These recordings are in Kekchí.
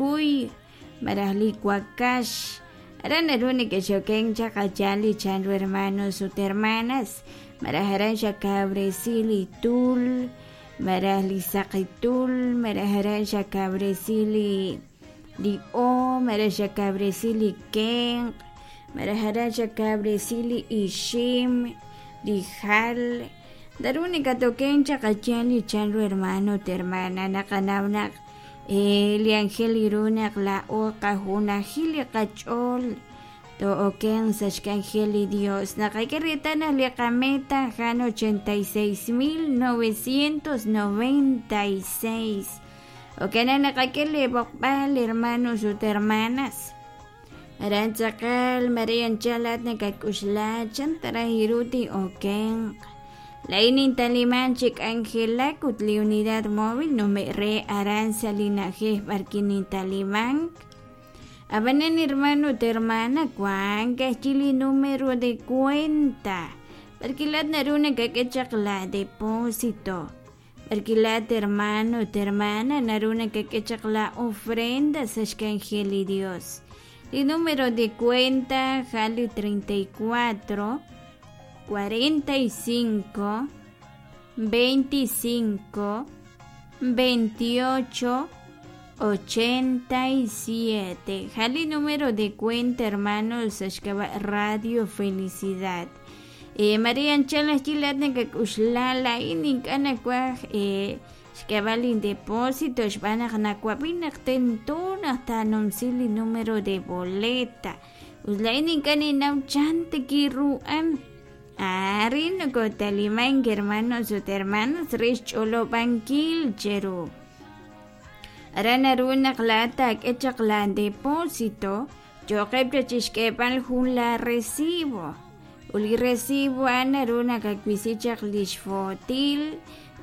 kuy malaj li wakax aran naru nekexokenk chaq a' yaal li chanru hermanos ut hermanas malaj aran xakawresi li tul malaj li saqi tul malaj aran xakawresi li li o malaj xakawresi li kenq' malaj aran xakawresi li ixim li jal naru nakatokenk chaq a' yaal li chanru hermano ut hermana naqanaw naq li anjel ru naq laa'o qajunajil li qach'ool too'okenq sa' xk'anjel li Dios naqak'e reetal naq li qameta a'an 86,996 jo'kan naq naqak'e li b'oqb'al hermanos ut hermanas aran tz'aqal mare anchal laa'at nakak'uxla chan ta raj ru tin'okenq laa'in nintaliman chi k'anjelak ut li unidad móvil nume' re aran sa' li na'ajej b'arwi' nintalimank ab'anan hermano ut hermana wank ka'ajwi' li número de cuenta b'arwi' laa'at naru nakak'e chaq la depósito b'arwi' laa'at hermano ut hermana naru nakak'e chaq la ofrenda sa' xk'anjel li Dios li número de cuenta a'an li 34 45 25 28 87 a'an li número de cuenta hermanos sa' xk'ab'a' Radio Felicidad mare anchal ajwi' laa'at nakak'uxla laa'in ink'a' nawaj xk'eeb'al lindepósito xb'aan naq nawab'i naq tento naq taanumsi li número de boleta ut laa'in ink'a' ninnaw chan tikiru'an arin nokotalimank hermanos ut hermanas re xch'olob'ankil cheru aran naru naq laa'at taak'e chaq la depósito yooqeb' chaq chixk'eeb'al jun la recibo ut li recibo a'an naru nakawisi chaq li xfootil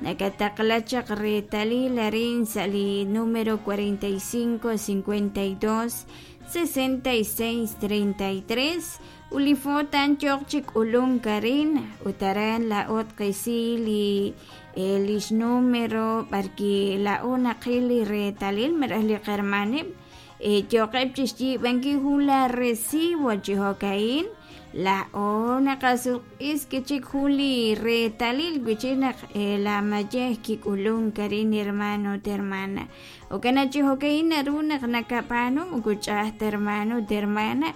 nakataqla chaq reetalil arin sa' li número 45 52 66 33 ut li foot a'an yooq chi k'ulunk arin ut aran laa'o tqisi li lix número b'arwi' laa'o naqil li reetalil malaj li qahermaneb' yooqeb' chixyiib'ankil jun la recibo chi jo'ka'in laa'o naqasutq'is chik jun li reetalil wi'chik naq la mayej kik'ulunk arin hermano ut hermana jo'kan naq chi jo'ka'in naru naq nakab'aanu moko ch'a'aj ta hermano ut hermana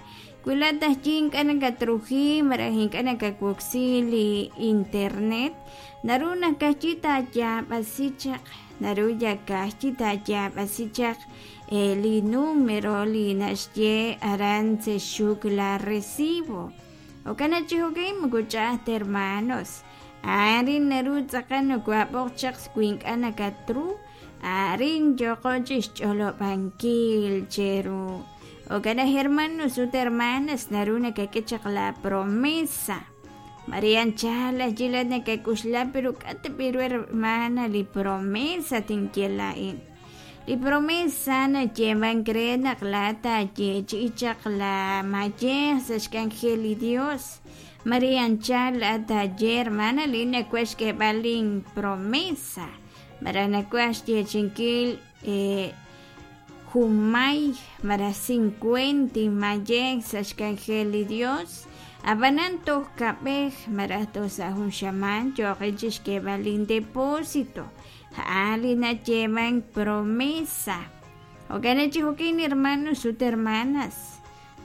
wi laa'at ajwi' ink'a' nakatruji malaj ink'a' nakawoksi li internet naru naq ka'ajwi' taayaab'asi chaq naru yal ka'ajwi' taayaab'asi chaq li número li naxye aran sa' xxuk la recibo jo'kan naq chi jo'ka'in moko ch'a'aj ta hermanos arin naru tz'aqal nokoab'oq chaq wi ink'a' nakatru arin yooqo chixch'olob'ankil cheru jo'kan naq hermanos ut hermanas naru nakak'e chaq la promesa mare anchal ajwi' laa'at nakak'uxla pero k'a' ta b'i ru hermana li promesa tinye laa'in li promesa nayeemank re naq laa'at taayeechi'i chaq la mayej sa' xk'anjel li Dios mare anchal laa'at taaye hermana li nawaj xk'eeb'al lin promesa malaj nawaj xyeechi'inkil junmay malaj cincuenta inmayej sa' xk'anjel li Dios ab'anan toj kab'ej malaj toj sa' jun xamaan yooqin chixk'eeb'al lin depósito a'an li nayeemank promesa jo'kan naq chi jo'kin hermanos ut hermanas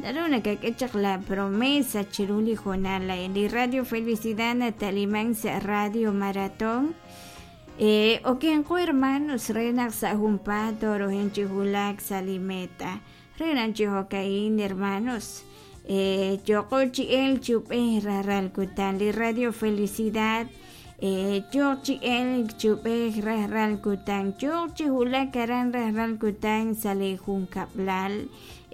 naru nakak'e chaq la promesa chiru li hoonal a'in li Radio Felicidad natalimank sa' Radio Maratón okenqo hermanos re naq sa' junpaat toorohin chi wulak sa' li meta re naq chi jo'ka'in hermanos yooqo chi elk chi ub'ej rajlal kutan li Radio Felicidad yooq chi elk chi ub'ej rajlal kutan yooq chi wulak aran rajlal kutan sa' li junkab'lal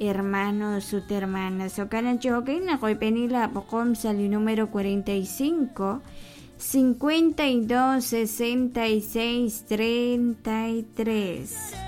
hermanos ut hermanas jo'kan naq chi jo'ka'in naqoyb'eni laab'oqom sa' li número 45 52 66 33.